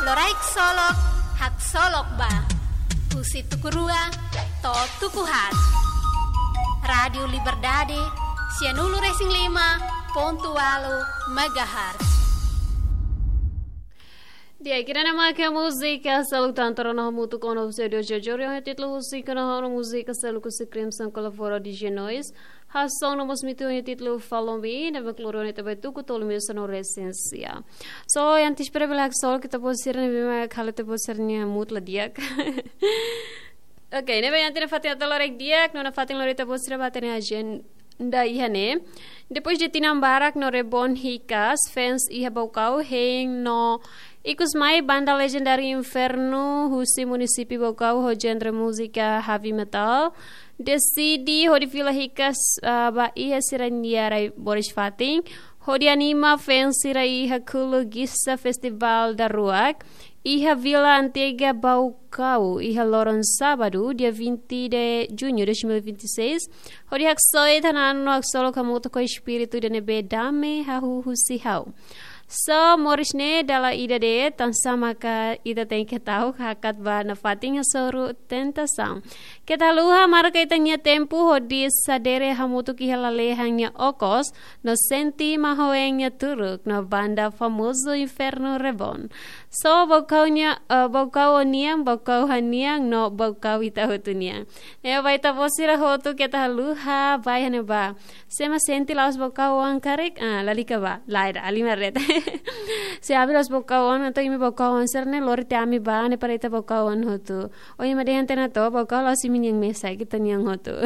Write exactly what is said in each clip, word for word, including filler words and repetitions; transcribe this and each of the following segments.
Loraik solok, haksolok ba. Husi tuku rua to'o tuku haat. Rádiu Liberdade, sianulu-resin-lima pontu ualu megahertz. Di'ak, ida-ne'e mak múzika Salu Tantoro no hamutuk ho Sérgio Jojori, ho títulu Husi Kona, ho múzika Salu Kusi Crimson Colaboro de Genois. Hasoru no mós mitu ho títulu Follow Me, ne'ebé kloro ne'e ita bá tuku tolu meia sanulu-resin-sia. So, antes para belak sol ita-boot sira ne'ebé mak halo ita-boot sira-nia mood la di'ak. Ok, ne'ebé iha ita-nia fatin atu loraik di'ak, no nafatin lori ita-boot sira ba ita-nia agenda iha ne'e. Depois de tinan barak no rebon hikas, fans iha Baucau hein no ikus mai banda legendáriu Inferno husi munisípiu Baucau ho genre múzika heavy metal deside hodi fila hikas, ah, ba iha sira-nia rai-moris fatin, hodi anima fans sira iha Kulu Gisa Festival Daruak iha Vila Antiga Baucau, iha loron sábadu, dia vinte de junho de dois mil e vinte e seis, hodi haksoit, hananu no haksolok hamutuk ho espíritu ida ne'ebé dame hahú husi ha'u. So, moris ne'e dala ida de'it, tansá maka ita tenke ta'uk hakat ba nafatin hasoru tentasaun. Keta haluha marka ita-nia tempu hodi sadere hamutuk iha lalehan nia okos, no sente mahon nia turuk, no banda famozu Inferno rebon. So, Baucau nia, eh, Baucau ó-nian, Baucau ha'u-nian, no Baucau ita hotu nian. Ne'ebé ita-boot sira hotu keta haluha, bá iha ne'ebá. Se ema sente la'ós Baucau oan karik, ah, lalika bá. Lae, ida, halimar de'it. Se ami la'ós Baucau oan, entaun imi Baucau oan sira-ne'e lori tiha ami bá, ne'e para ita Baucau oan hotu. Ó ema dehan tiha ona to'o, Baucau la'ós imi-nian mesak, ita-nian hotu.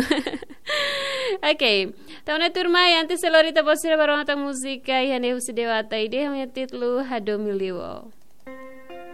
Ok. Entaun ne'e tuirmai, antes de lori ita-boot sira ba rona tan múzika iha ne'e husi Dewata Ide, ho títulu Hadomi Liu.